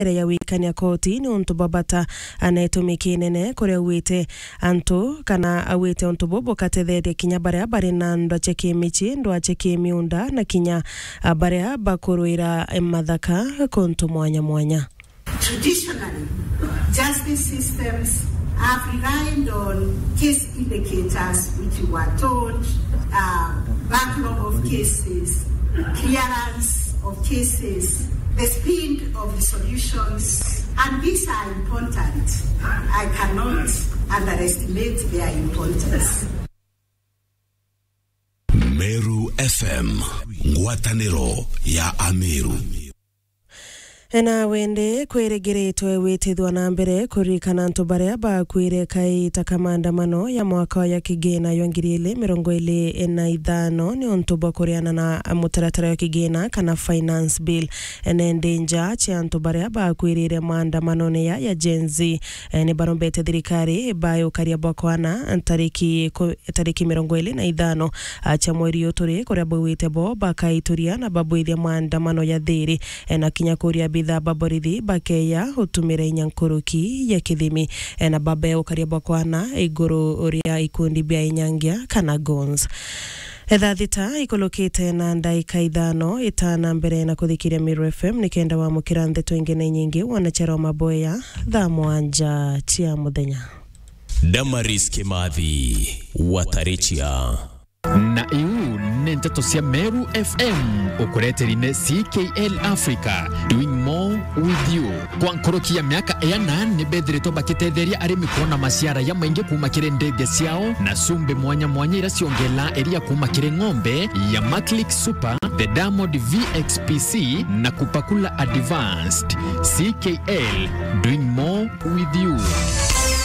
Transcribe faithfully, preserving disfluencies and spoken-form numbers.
mbere ya wikania koti ni untu bwa bata, na itumi kinene kuria auite antu kana auite untu bubu bukatetheria kinya baria bari na ndwa cia kimici, ndwa cia kimiunda na kinya, ah, baria bakurwira mathaka kuntu mwanya mwanya. Traditionally, justice systems have relied on case indicators, which you were told, uh, backlog of cases, clearance of cases, the speed of resolutions, and these are important. I cannot underestimate their importance. Meru F M, ngwataniro ya Ameru. Na wendi kwirigiritwe witithwa na mbere kuririkana antu baria bakwire kaita ka maandamano ya mwaka ya kigina ya ngiri ili mirongo ili na ithano ni untu bwa kuriana na mutaratara wa kigina kana finance bill. Ene ndi nja cia antu baria bakwirire maandamanone ya, ya Gen Z, eh, ni barombete thirikari bae ukaria bwa kwana tariki ku-, tariki mirongo ili na ithano, ah, cia mweri uyu turi, kuria bauite bo bakaituria na babwithia maandamano ya thiri, eh, na kinya kuria abitha ba borithi bakeya utumira inya nkuruki ya kithimi, eh, na babe ukaria bwa kwana iguru ria ikundi bia inyangia kana goons. Etha thita ikulukite na ndaika ithano itana mbere na kuthikiria Meru F M nikenda wamukira ndeto ingi na inyingi wona chero maboya thaa mwanja cia muthenya. Damaris Kimathi, Watarichia. Na iu ni nteto cia Meru F M, ukureteri ni C K L Africa, doing more with you. Kwa nkuruki ya miaka iana, ni bethiritwe bakitetheria arimi kuona maciara ya maingi kuuma kiri ndege ciao na cumbi mwanya mwanya ira ciongelaa iria kuuma kiri ng'ombe ya Maclick Super, the Diamond V X P C na Kupakula Advanced. C K L, doing more with you.